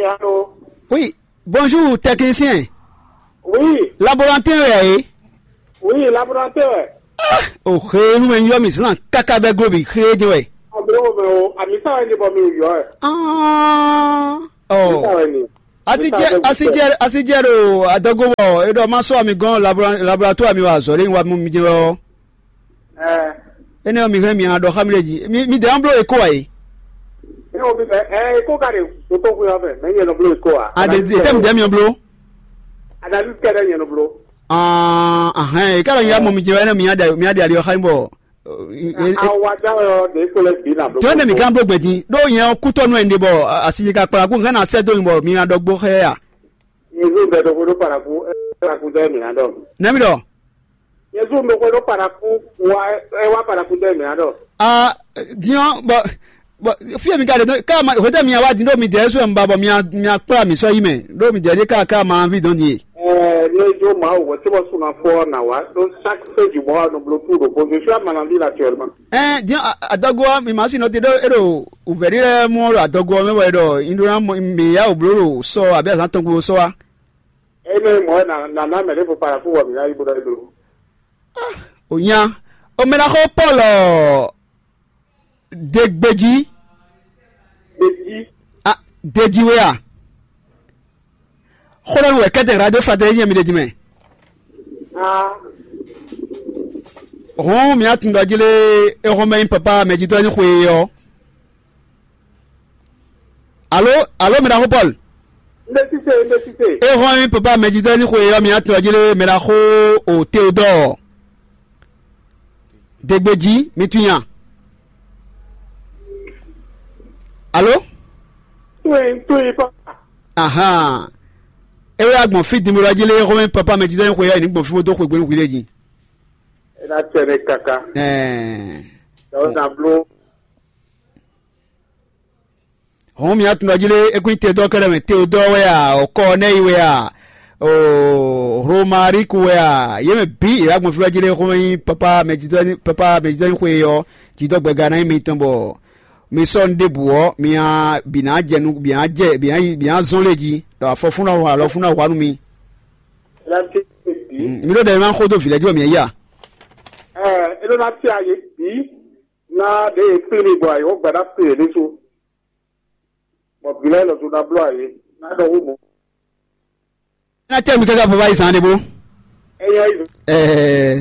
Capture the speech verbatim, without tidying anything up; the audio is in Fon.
Allô? Oui, bonjour, technicien. Oui. Laborantin wɛ ɛ? Oui, laborantin wɛ. O xe nú mɛ nyɔ mi zlan káká bɛ glo bi xe jɛ wɛ. Ɔbɛwo mɛ o, ami sa wɛ ni bɔ mi yɔ ɛ. Ah, oh. Sa wɛ ni. Asijɛ, asijɛ, asijɛ ɖo adɔgo bɔ e ɖɔ ma sɔ ami gɔn laboratoire mi wa azɔ ɖe wa mu mi jɛ wɛ ɔ. Ɛ. Énɛ́ ɔ́, mi hɛn mi nǎ ɖɔ xá mì ɖě jí. Mi mi dɛ́ nɔ bló éko ǎ é. Ɛ o mi bɛ ɛ éko ka ɖe dotóxwé ɔ́ mɛ, mɛ nyɛ nɔ bló éko ǎ. A ɖe ɖe tɛ́ mi dɛ́ mi nɔ bló. Analyse kɛɖɛ nyɛ nɔ bló. Ahɛn, e ká ɖɔ nyɛ mɔ mi jɛ wɛ nɛ mi nyaɖe mi nyaɖe ali ɔ́ xá nyí bɔ. Awa dá ɔ ɖe kó lɛ bi na bló. Jɔn ne mi gán bló gbɛn din ɖó nyɛ ɔ́ kútɔ́ nú ɛ ɖe bɔ asi ka kplá kú hɛn na sɛ dó mi bɔ mi nyaɖɔ gbó xɛ ya. Yezu bɛ ɖo xwé ɖó paraku, paraku dɛ mi na dɔ. Nɛmi ɖɔ. Yezu ɖo xwé ɖó paraku, wa ɛ wa paraku dɛ mi na dɔ. A diɔ bɔ bɔ fie mi ka ɖe dɔn ká ma hwetɛ mi awa din ɖo mi dɛ ɛsɛ mi ba bɔ mi mi akpla mi sɔ yi mɛ ɖo mi dɛ ɖe ká ká ma vi dɔn din. Ɛɛ ne jo ma wɔ tí wọ́n sún afɔ na wa ɖó chaque feu du mois no blo tout ɖo bó je suis à Manaville actuellement. Ɛɛ diɔ adɔgo mi ma si nɔ te ɖo e ɖo uvɛri lɛ mɔ ɖo adɔgo mɛ bɔ e ɖɔ indona mi ya o blo ɖo sɔ abi azan tɔn gbo sɔ wa. Eme mɔ na na na mɛ ɖe fo paraku wɔ mi na yi bo ɖɔ yi blo. O nya o mɛ na xɔ Paul ɔ. Degbeji. Deji. Ah, deji we a? Xɔlɔnu wɛ kɛtɛ radio fratɛ nyɛ mi ɖe dimɛ. Ah. Hɔn mi atun dɔ jele ehɔn mɛ papa mɛ jitɔ ni xwe yɔ. Alo, alo mɛ na xɔ Paul. N bɛ sise, n bɛ sise. Ehɔn papa mɛ jitɔ ni xwe yɔ mi atun dɔ jele mɛ na xɔ o Theodore. Degbeji mi tun nya. Alo? Tún yín, tún yín papa. Ahan. E wɛ agbɔn fi dimlɔ jí lé xɔmɛ papa mɛ jijɛ xwe yɛ ní gbɔn fi bó dó xwe gbɛnu hwi lé jí. E na tɛ ne kaka. Ɛɛ. Dɔw na blo. Hɔn mi atun dɔ jí lé ekun te dɔ kɛlɛ mɛ Teodɔ wɛ a, o Kɔnɛyi wɛ a, o Romariku wɛ a, yě mɛ bǐ yě wá gbɔn fí wɛ jí lé xɔmɛ nyí papa mɛ jijɛ papa mɛ jijɛ xwe yɔ jidɔ gbɛga ná nyí mitɔn bɔ mi sɔ́ nu ɖěbǔ ɔ́, mi nya bǐ ná jɛ nú bǐ ná jɛ bǐ ná yi bǐ ná zɔ́n lé jí, ɖɔ afɔ fún ná hu alɔ fún ná hu nú mi. Láti bǐ. Mm, mi ɖó ɖɛ ma xó dó vǐ lɛ́ɛ jí bɔ mǐ yi a? Ɛɛ, é ɖó ná fia yě bǐ ná ɖě e kplé mi gbɔ ayǐ, wọ́n gbadá kplé yě ɖésú. Bɔ vǐ lɛ́ɛ lɔ dó ná bló ayǐ, ná ɖɔ wú mɔ̌. Ná tɛ mi káká baba yi zan ɖé bó. Ẹ̀yin ayǐ. Ɛɛ.